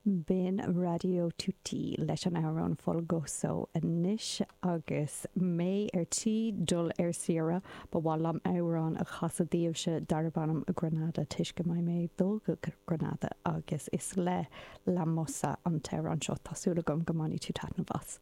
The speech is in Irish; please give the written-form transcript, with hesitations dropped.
B'in Radio Tutti leis an amhrán Folgoso anois agus mé ar tí dul ar saoire ba mhaith liom amhrán a chasadh daoibhse darb ainm Granada toisc go mbeidh mé ag dul go Granada agus is le La Moza an t-amhrán seo. Tá súil agam go mbainfidh tú taitneamh as.